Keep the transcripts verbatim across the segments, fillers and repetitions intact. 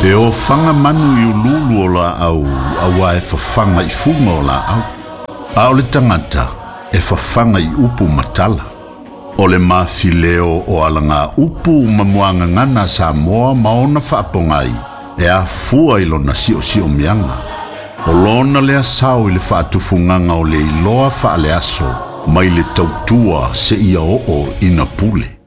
E ofaga manu i ululu o laau auā e fafaga i fuga o laau. A o le tagata e fafaga i upu ma tala. O le mafileo o alaga upu ma muagagana Samoa ma ona faapogai e afua i lona siosiomiaga. O lona lea sao i le faatufugaga o le iloa faaleaso mai le tautua seia oo ina pule.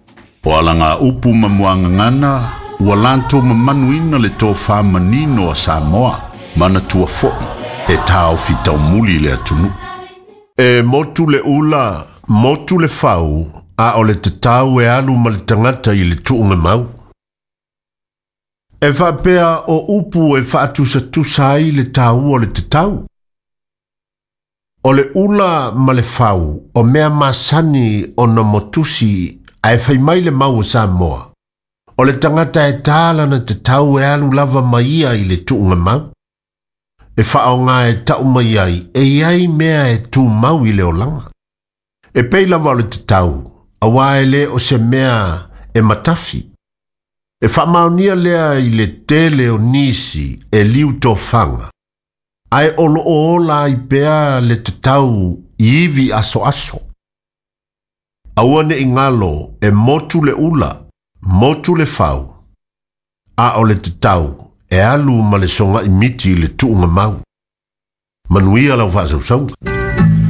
O alaga upu ma muagagana ua latou mamanuina le tofā manino a Samoa manatua fo'i e taofi taumuli le atunuu. E motu le ula, motu le fau, a o le tatau e alu ma le tagata i le tuugamau. E faapea o upu e faatusatusa ai le taua o le tatau. O le ula ma le fau o mea masani ona motusi ae fai mai le mau o Samoa. O le tagata e tā lana tatau e alu lava ma ia i le tuugamau. E faaaoga e tau mai ai e iai mea e tumau i le olaga. E pei lava o le tatau, auā e lē o se mea e matafi. E faamaonia lea i le tele o nisi e liu tofaga. Ae o loo ola ai pea le tatau i ivi asoaso. Aua ne i galo e motu le ula, motu le fau. A o le tatau e alu ma le sogai miti i le tuugamau. Manuia lau faasausauga.